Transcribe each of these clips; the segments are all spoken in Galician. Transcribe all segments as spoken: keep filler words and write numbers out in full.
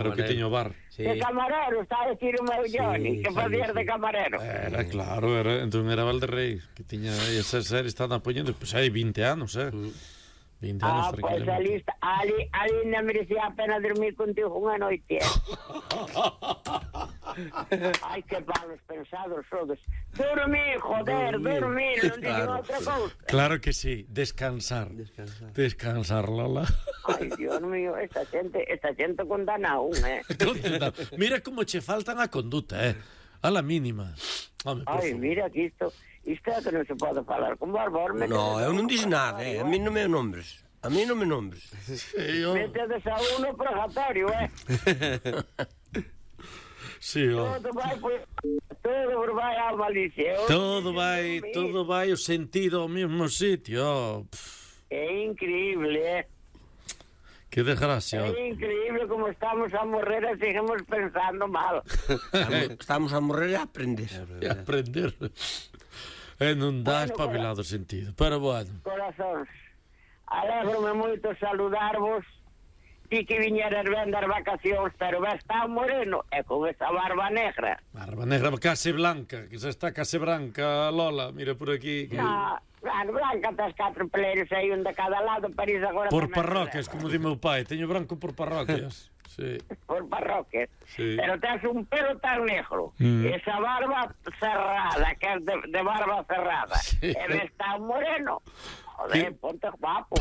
Pero que tiño bar. Sí. De camarero, está a decir o meu Johnny, sí, que facías sí, de camarero. Era, claro, era, entón era Valderrey, que tiña esa serie, estaban apoyando, pues hai vinte anos, eh. Mm. vinte anos, ah, pois pues, ali, ali, ali non merecía a pena dormir contigo unha noite, eh. Ai, que palos pensados sodes. Dormir, joder, dormir, non dixen claro, outra cousa. Claro que sí, descansar. Descansar, descansar Lola. Ai, Dios mío, esta xente, esta xente condana a un, eh. Mira como che faltan a conduta, eh. A la mínima. Home, ai, mira que isto, isto é que non se pode falar con Barbor. No, eu non dixo nada, eh. A mí non me nombres. A mí non me nombres. Sí, yo... Metedes a uno purgatorio, eh. Sí, oh. Todo vai, pues, todo vai a malicia. Todo vai, todo vai o sentido ao mesmo sitio. É increíble, eh. Que desgracia. É increíble como estamos a morrer e seguimos pensando mal. Estamos a morrer e a aprender. E a aprender. E non dá bueno, espabilado cora... sentido. Pero bueno. Corazóns, alégrome moito saludarvos. Ti que viñeras ben das vacacións, pero ves tan moreno e con esa barba negra. Barba negra case blanca, que xa está case branca, Lola, mira por aquí. Que... No, claro, blanca tes catro peleiros aí un de cada lado, para ir agora... Por parroquias, como di meu pai, teño branco por parroquias. Sí. Por parroquias. Sí. Pero tens un pelo tan negro, mm. esa barba cerrada, que es de, de barba cerrada, sí. E ves tan moreno. Joder, ¿qué? Ponte guapo.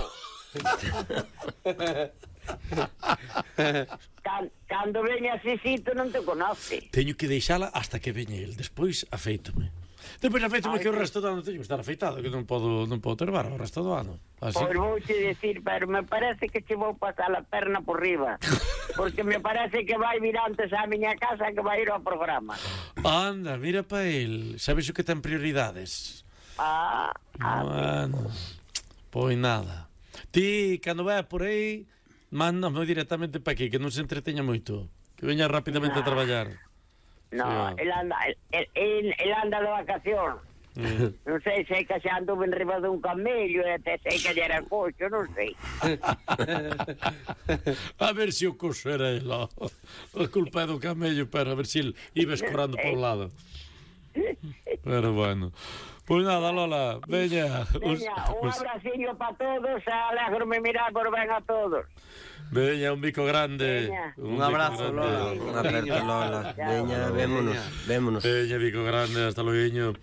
Can, cando veña Sisito non te conoce. Teño que deixala hasta que veña el. Despois afeítome. Despois afeítome que o resto do ano teño que estar afeitado, que non podo, non podo ter barba o resto do ano. Así. Pois vou te decir, pero me parece que che vou pasar a perna por riba. Porque me parece que vai vir antes á miña casa que vai ir ao programa. Anda, mira pa el. Sabes o que ten prioridades? Ah, ah bueno, pois nada. Ti, cando vai por aí, mándame directamente para aquí, que non se entreteña moito. Que veña rapidamente no. a traballar. No, sí, el anda, el, el, el anda de vacación. Mm. Non sei se que xa anduve en riba dun camello e até sei que era coxo, non sei. A ver se o coxo era el. A culpa é do camello, pero a ver se iba escorando por un lado. Pero bueno. Pois nada, Lola, veña. Veña, un abraciño para todos, alégrome mirar por ben a todos. Veña, un bico grande. Veña. Un, un abrazo, grande. Lola. Un aperto, Lola. Veña, vémonos, vémonos. Veña, bico grande, hasta loguiño.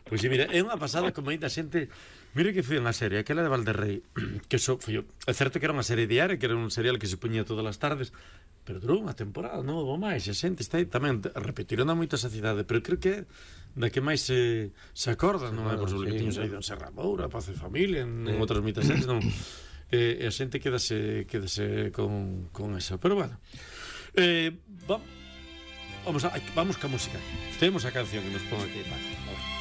Pois si, mira, é unha pasada como ainda xente... Mira que foi unha serie, aquela de Valderrey, que so, foi, é certo que era unha serie diaria, que era un serial que se poñía todas as tardes, pero durou unha temporada, non houve máis, a xente está aí tamén, repetiron a moita sacidade, pero creo que da que máis se, se acorda, non é por sobre que tiño saído en Serra Moura, Paz e Familia, en, en outras moitas series, non, e, e a xente quedase, quedase con, con esa, pero bueno, eh, va, vamos, a, vamos ca música, temos a canción que nos pon aquí, Paco.